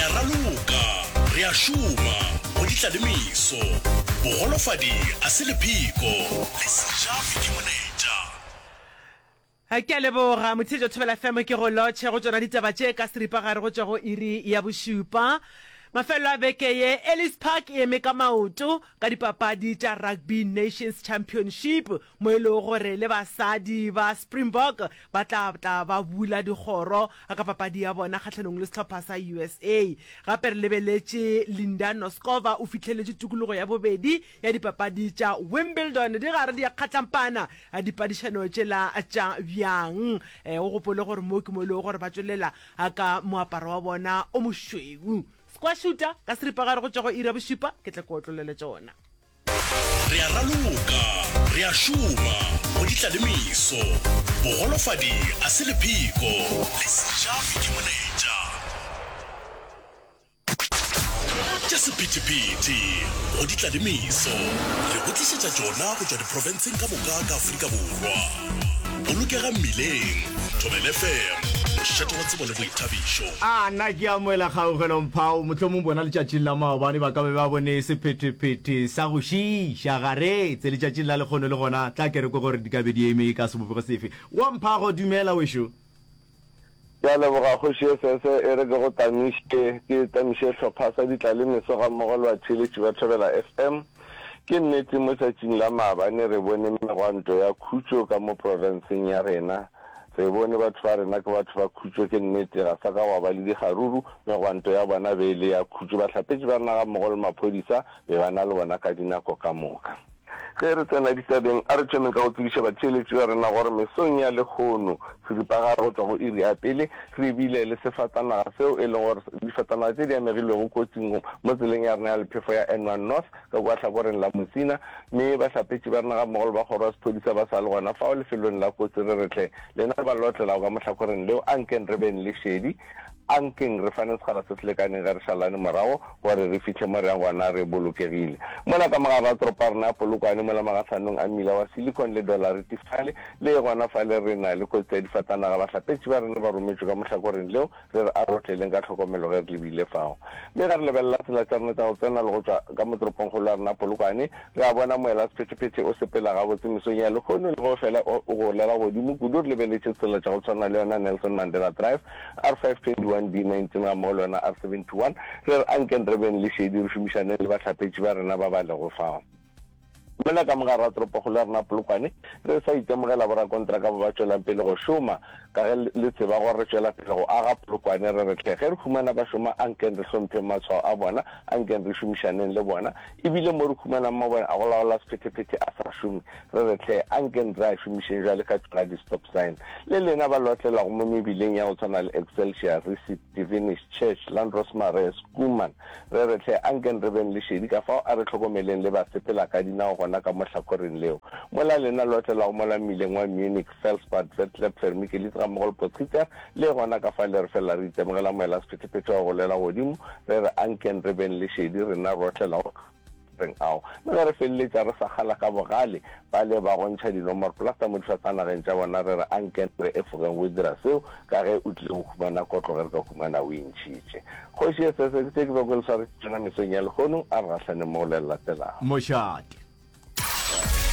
a raloka, re a šoma, go ditla le meso. Bogolofadi a se lepheko, le sejafi ke molaetša. Ke a leboga Motheetši wa Thobela FM ke go lotšhe go tšona ditaba tše ka seripagare go tšwa go iri ya bošupa. Mafelelo a beke ye, Ellis Park e eme ka maoto ka dipapadi tša Rugby Nations Championship mo e lego gore le basadi ba Springbok ba tla tla ba bula dikgoro ka papadi ya bona kgahlanong le sehlopha sa USA. Gape re lebeletše Linda Noskova o fihleletše tokologo ya bobedi ya dipapadi tša Wimbledon di gare di a kgatlampana dipadišano tšela tša bjang. O gopole gore mo ke mo e lego gore ba tšwelela ka moaparo wa bona o mošweu. Squashuta ka seripagare go tšwa go iri ya bošupa ke tle ke otlolele tšona. Re a raloka, re a šoma, go ditla le meso. Bogolofadi a se lepheko, le sejafi ke molaetša. Tša sephethephethe, go ditla le meso. Re go tlišetša tšona go tšwa diprofenseng ka moka ka Afrika Borwa. Bolokega mmileng, Thobela FM, mošate wa tsebo le boithabišo. A nna ke amoela kgaugelo Mphao, mohlomong bona letšatšing la maobane ba ka be ba bone sephethephethe sa go šiiša garetse letšatšing la lekgono le gona tla ke re kwe gore di ka be di eme ka sebopego sefe. Wa Mphago dumela wešo. Ke a leboga Kgoši Esese, e re ke go tamiše, ke tamiše hlopha sa ditlalemeso gammogo le batheeletši ba Thobela FM. Ke nnete mo tšatšing la maabane re bone megwanto ya khutšo ka mo profenseng ya rena. Re bone batho ba rena ke batho ba khutšo, ke nnete ga sa ka gwa ba le dikgaruru, megwanto ya bona be e le ya khutšo. Bahlapetši ba rena gammogo le maphodisa be ba na le bona ka dinako ka moka. Ge re tsena ditabeng, a re thomeng ka go tsebiša batheeletši ba rena gore mesong ya lehono, seripagare go tšwa go iri ya pele, re bile le sefatanaga seo e lego gore difatanaga tše di amegilwego kotsing mo tseleng ya rena ya lephefo ya N1 North ka kua hlakoreng la Musina, mme bahlapetši ba rena gammogo le ba kgoro ya sephodisa ba sa le gona fao lefelong la kotsi. Re re hle lena ba lotlelago ka mo hlakoreng leo, ankeng re beng le šedi. Ankeng re fane sekgala se se lekaneng ge re šalane morago gore re fihle mo re yang gona re bolokegile. Mola ka mogare ga toropo ya rena ya Polokwane, mola magahlanong a mmila wa Silicon le Dollarity fale, le gona fale re na le kotsi ya difatanaga. Bahlapetši ba rena ba rometšwe ka mohlakoreng leo, re re a re otleleng ka tlhokomelo ge re lebile fao. Mme ge re lebelela tsela tša rena tša go tsena le go tšwa ka mo toropongkgolo ya rena Polokwane, re a bona moelasephethephethe o sepela gabotse mesong ya lehono le ge o fela o golela godimo kudu re lebeletše tsela tša go tshwana le yona Nelson Mandela Drive, R521, B19 gammogo le yona R71. Re re ankeng re beng le šedi re šomišaneng le bahlapetši ba rena ba ba lego fao. Mola ka mogare ga toropokgolo ya rena Polokwane, re sa itemogela borakontraka ba ba tšwelang pele go šoma. Ka ge le tseba gore re tšwela pele go aga Polokwane, re re hle ge re humana ba šoma ankeng re hlompheng matshwao a bona, ankeng re šomišaneng le bona. E bile mo re humanang mabone a go laola sephethephethe a sa šome, re re hle ankeng re a šomišeng bjale ka tšona di-stop sign. Le lena ba lotlelago mo mebileng ya go tshwana le Excelsior, Resit, Divinish, Church, Landros Marais, Schoeman, Re re hle, ankeng re beng le šedi, kafao a re hlokomeleng le basepelakadinao gona ka mo hlakoreng leo. Mola lena le otlelago mola mmileng wa Munich, Felsbad, Vetlep, Vermikelitz gammogo le Potgieter, le gona ka fale re felela re itemogela moela sephethephethe wa go golela godimo, re re ankeng re beng le šedi, rena re otlelago reng ao. Mme ge re feleletša re sa kgala ka bogale bale ba go ntšha dinomorplasta mo difatanageng tša bona, re re ankeng re efogeng go dira seo, ka ge o tlile go humana kotlo ge re ka humana o e ntšhitše. Kgoši e sese, ke tše ke bego ke le swaretše tšona mesong ya lehono, a re gahlaneng mo go le le latelago. Mošate.